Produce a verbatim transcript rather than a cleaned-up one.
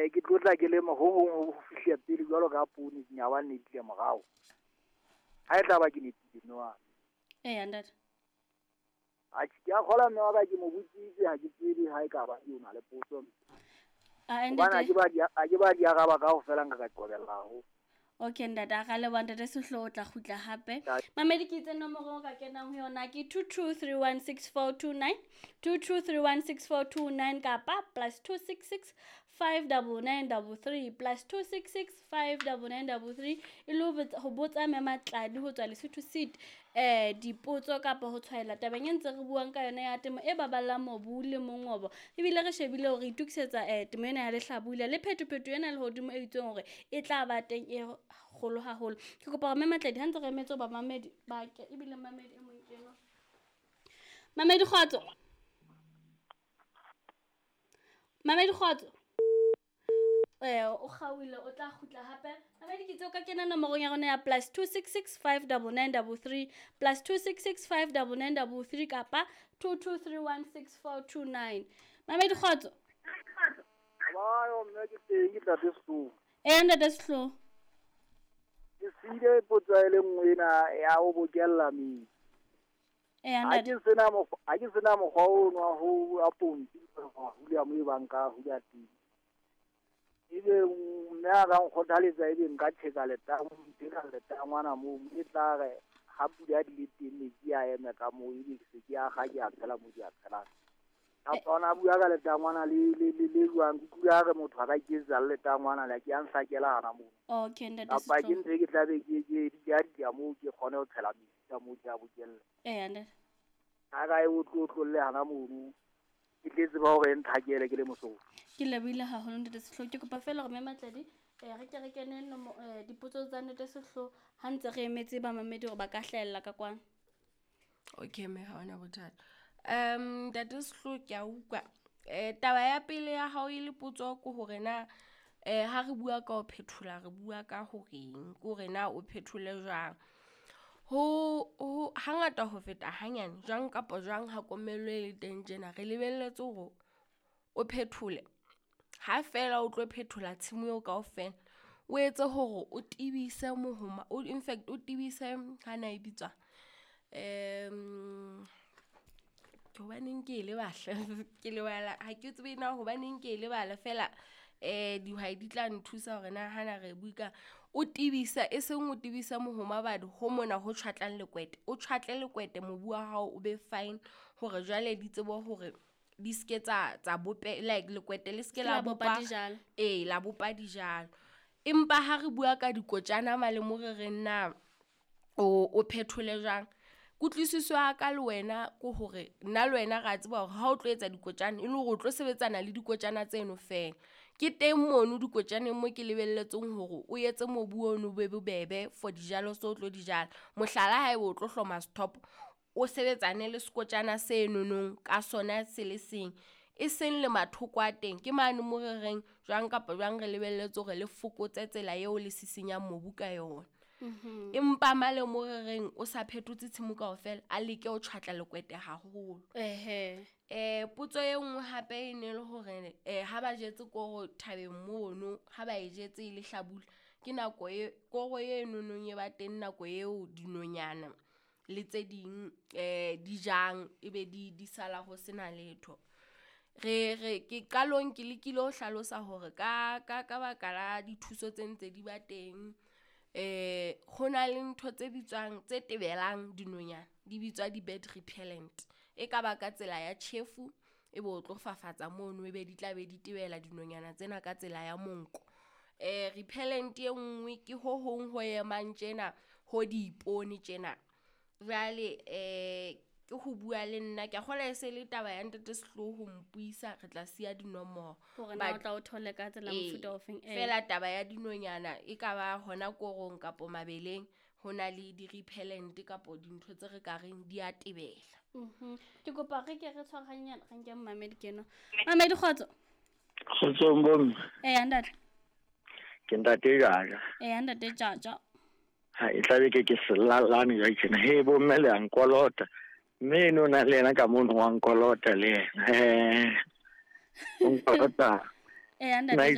Eh ke tlo tla ke lema ho hong ho fihla pele jwalo ka poone dinyawa ne di le morao. Ha e tla ba ke nepile mme wa. Eya ntate. Atjhe ke a kgola mme wa ka ke mo botsitse ha ke tsebe ha e ka ba ke o na le potso. A Hobane ha ntate. ke ba di ha ke ba di araba kaofela nka ka qobella haholo. Okay ntate, a ra leboha ntate Sehloho, o tla kgutla hape. Mamedi ke itse nomoro o ka kenang ho yona ke two two three one six four two nine, two two three one six four two nine kapa plus two six six five double nine double three, plus two six six five double nine double three e le ho botsa, ho botsa Mme Matladi ho tswa Lesotho Seed eh dipotso kapa ho tshwaela tabeng e ntse re buang ka yona ya temo e baballang mobu le mongobo. Ebile re shebile hore re itokisetsa eh temo ena ya lehlabula le phetophetoho ena lehodimo e itseng hore e tla ba teng e kgolo haholo. Ke kopa hore Mme Matladi ha ntse re emetse hoba mamedi ba ke ebile mamedi e mong ke enwa. Mamedi kgotso. Mamedi kgotso. Eh o kgaohile o tla kgutla hape. Mamedi ke itse o ka kena nomorong ya rona ya plus two six six five double nine double three, plus two six six five double nine double three kapa two two three one six four two nine. Mamedi kgotso. Ba mme ke teng ke Ntate Sehloho. Eh Ntate Sehloho. Ke siile potso e le nngwe ena ya ho bokella metsi. Eh Ha ntate. ke sena mokgwa, ha ke sena mokgwa ono wa ho wa pompi ho hula mo e bang ka hula teng. Ebe mme a ka nkgothaletsa ebe nka tjheka letamo, tjheka letangwana moo e tla re ha pula di le teng metsi a eme ka moo ebe ke se ke a kga ke a tshela moo ke a tshelang. Kapa ona bua ka letangwana le le le le jwang, ke utlwile a re motho a ka iketsetsa le letangwana le ke a nhlakela hana moo. Okay ntate Kapa ke Sehloho. ntho e ke tla be ke ke di a di a moo ke kgone ho tshela metsi ka moo ke a bokella. Eh ntate. Ha ka e o tlo hana mono. Ke tle tseba hore e nthakele ke le Mosotho. Ke lebohile haholo Ntate Sehloho. Ke kopa feela hore Mme Matladi eh re ke re kene nomo eh dipotso tsa Ntate Sehloho ha ntse re emetse bamamedi hore ba ka hlahella ka kwano. Okay mme ha hona bothata. Um Ntate Sehloho ke a utlwa. Eh taba ya pele ya hao e le potso ke hore na eh ha re bua ka ho phethola re bua ka horeng, ke hore na o phethole jwang. Ho ho hangata ho feta hanyane jwang kapa jwang ha komello e le teng tjena re lebelletse hore o phethole. Ha feela o tlo phethola tshimo eo kaofela, o etse hore o tebise mohoma, o in fact o tebise ha na e bitswang. Um ke hobaneng ke e lebala ke lebala ha ke tsebe na hobaneng ke e lebala feela eh dihwai di tla nthusa hore na hana re bue ka o tebisa e seng o tebisa mohoma badi ho mona ho tjhwatlang lekwete, o tjhwatle lekwete mobu wa hao o be fine hore jwale di tsebe hore di ske tsa tsa bope like lekwete le ske la La bopa bopa dijalo. ee la bopa dijalo. Empa ha re bua ka dikotjana male mo re reng na o o phethole jwang, kutlwisiso ya ka le wena ke hore nna le wena re a tseba hore ha o tlo etsa dikotjana e le hore o tlo sebetsana le dikotjana tseno feela. Ke teng mono dikotjaneng mo ke lebelletseng hore o etse mobu ono o be bobebe for dijalo tseo o tlo di jala. Mohlala haeba o tlo hloma stop, o sebetsane le sekotjana se nonong ka sona se le seng, e seng le mathoko a teng. Ke mane mo re reng jwang kapa jwang re lebelletse hore le fokotse tsela eo le sisinyang mobu ka yona. Mhm. Empa male mo re reng o sa phethotse tshimo kaofela, a leke ho tjhwatla lekwete haholo. Ehe. Eh potso e nngwe hape e ne le hore eh ha ba jetse koro thabeng mono, ha ba e jetse e le hlabula, ke nako e koro e nonong e ba teng nako eo dinonyana le tse ding eh di jang ebe di di sala ho sena letho. Re re ke qalong ke lekile ho hlalosa hore ka ka ka baka la dithuso tse ntse di ba teng eh ho na le ntho tse bitswang tse tebelang dinonyana di bitswa di-bird repellent. E ka ba ka tsela ya tjhefu ebe o tlo fafatsa mono ebe di tla be di tebela dinonyana tsena ka tsela ya monko. Eh repellent e nngwe ke ho hong ho emang tjena ho diipone tjena. Jwale eh ke ho bua le nna ke a kgolwa e se le taba ya Ntate Sehloho ho mpuisa re tla siya dinomoro. Hore na o But tla o thole ka tsela ee, mofuta ofeng eh. Feela taba ya dinonyana e ka ba hona korong kapo mabeleng ho na le di-repellent kapo dintho tse re ka reng di a tebela. Mhm. Ke kopa re ke re tshwarahanyana re nke mamedi ke enwa. Mamedi kgotso. Kgotsong bomme. Eh ntate. Ke Ntate Jaja. Eh Ntate Jaja. Ha e tlabe ke ke selalane jwale tjena. He bomme le a nkolota. Mme eno na le yena ka mono wa nkolota le yena. Eh o nkolota. Eh ntate Jaja.